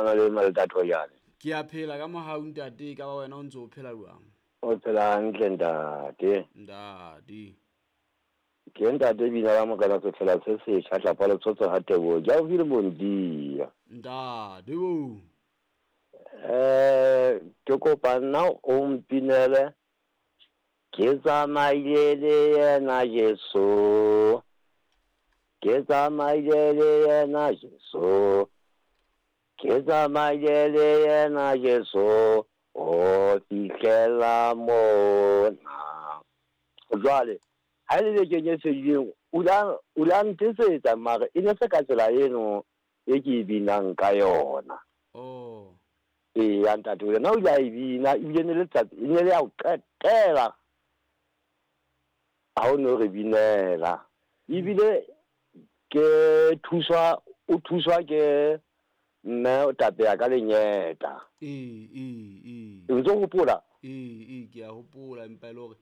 Na le Maltatho jane. Ke a phela ka mohau ntate, e ka ba wena o ntse o phela jwang? O phela hantle ntate. Ntate. Ke ntate bina la Morena Sefela se setjha tlapa letsotso ha Teboho. Ke haufi le Bondia. Ntate bo. Ke kopa nna o mpinele ke tsamaile le yena Jesu. Ke tsamaile le yena Jesu. Ke tsamaile le yena Jesu ho fihlela mona. Jwale ha e le bekeng e fedileng o la ntetsetsa mare e ne se ka tsela eno e ke e binang ka yona. Oh. Eya ntate, yena o ile a e bina ebile ne le letsatsi e ne le ya ho qetela ha o no re binela. Ebile ke thuswa o thuswa ke mme o tapeya ka lenyeta. Ee, ee, ee. O ntso hopola? Ee, ee, ke a hopola empa e le hore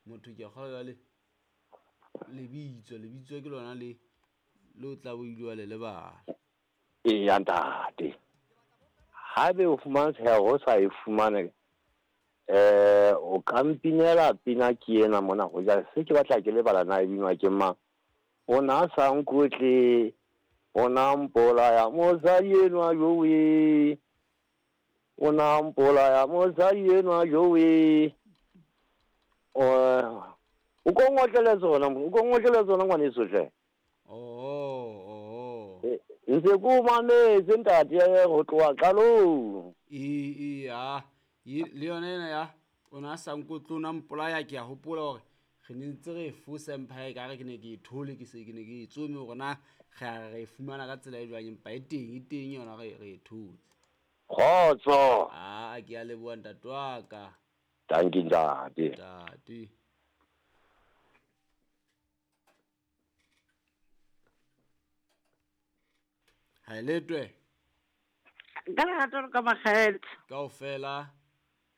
motho ke a kgolwa jwale lebitso, lebitso ke lona le le o tla bo ile wa le lebala. Eya ntate. Haebe o fumantsheha ho sa e fumane o ka mpinela pina ke ena mona hoja se ke batla ke lebala na e binwa ke mang. O na sa nkotle, o na mpolaya mosadi enwa jowe. O na mpolaya mosadi enwa jowe. O ko ngotlele tsona, o ko ngotlele tsona ngwaneso hle. Oh, oh. Ntse ke o mametse ntate ho tloha qalong. Ee, ee, ha. Le yona ena ya o na sa nkotle o na mpolaya ke a hopola hore re ne ntse re e fosa empa e kare ke ne ke e thole ke se ke ne ke e tsome hore na re a re e fumana ka tsela e jwang empa e teng e teng yona re re e thotse. Kgotso. Ah, ke a leboha ntate wa ka. Dankie ntate. Ntate. Ha e letwe. Ka lerato le ka makgethe. Kaofela.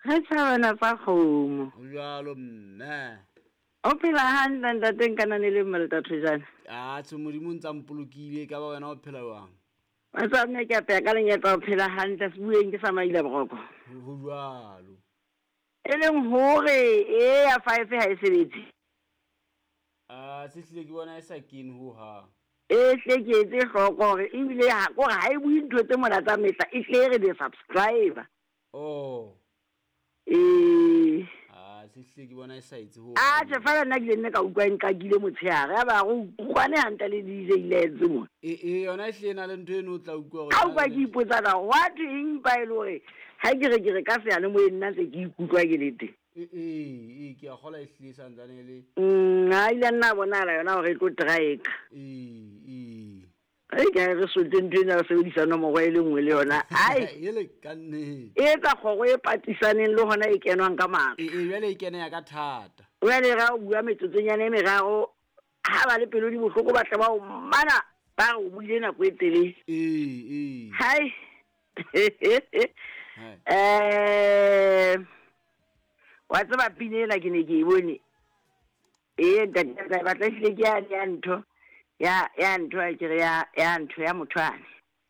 Re tjhabana tsa kgomo. Ho jwalo mme. O phela hantle ntate nkanane le mme le Thojane. Ah, tjhe Modimo o ntsa mpolokile ka ba wena o phela jwang? Wa tseba mme ke apeya ka lenyetla o phela hantle sebueng ke sa maila boroko. Ho jwalo. E leng hore e ya 5 ha e sebetse. Ah, se hlile ke bona e sa kene ho hang. E hle ke etse hloko hore ebile ha kore ha e bue ntho tse mona tsa mehla e hle e re de-subscriber. Oh. Ee. Ah, se hlile ke bona e sa etse ho. Ah, tjhe fela nna ke ile nne ka utlwa e nqakile motshehare ya ba re utlwane hantle le DJ Lance mo. E e yona e hlile e na le ntho eno o tla utlwa hore. Ka utlwa ke ipotsa na what eng pa e le hore ha ke re ke re ka seyalemoyeng nna ntse ke ikutlwa ke le teng. Ee, ee, ke a kgola e hlile e santsane e le. Ha ile nna bonahala yona hore e tlo trika. Ee, ee. Ai ka re sote ntho ena re sebedisa nomoro e le nngwe le yona. Ai. Ele ka nnete. E etsa kgoro e patisaneng le hona e kenwang ka matla. Ee, jwale e kena ya ka thata. Jwale ra o bua metsotsonyana e meraro ha ba le pelo di bohloko ba tle ba o mana ba re o buile nako e telele. Ee, ee. Hai. Wa tseba pina ena ke ne ke e bone. Ee ntate ka batla ehlile ke yane ya ntho ya ya ntho a ke re ya ya ntho ya motho ane.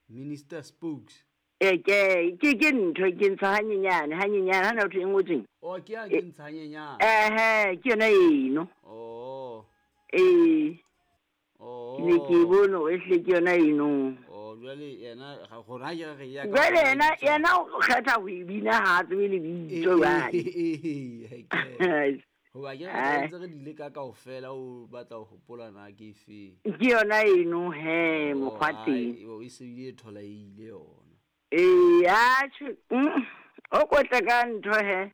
Minister Spokes. E ke ke ke ntho ke ntsha hanyenyane hanyenyane ha na ntho e ngotsweng. Oh ke ya ke ntsha hanyenyane. Ehe ke yona eno. Oh. Ee. Oh. Ke ne ke e bone hore ehlile ke yona eno. Oh jwale yena ga gona ke re ya ka. Jwale yena yena o kgetha ho e bina ha a tsebe lebitso jwale. Ee. Hoba ke re ntse re dile ka kaofela o batla ho hopola na ke efe. Ke yona eno he mokgwa teng. E se bile e tholaile yona. Ee, atjhe, o kotle ka ntho he.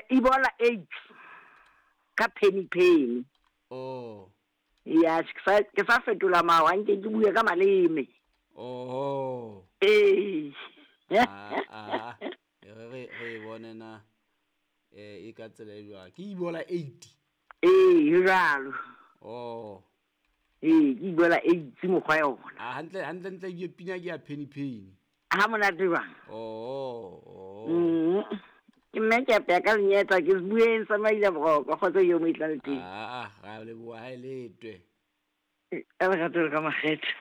Ebola AIDS ka penny penny. Oh. Ya, ke sa fetola mawa nke ke bue ka maleme. Oh. Ee. Ah, re re bone na e ka tsela e jwang. Ke Ebola 8. Ee, jwalo. Oh. Ee, ke Ebola 8 mokgwa yona. Ah, hantle hantle ntle ke pina ke ya penny penny. Ha monate jwang? Oh, oh. Ke mme ke apeya ka lenyetla ke bueng sa maila boroko kgotsa yo mo itla le teng. Ah, ra leboha ha e letwe. Ka lerato le ka makgethe.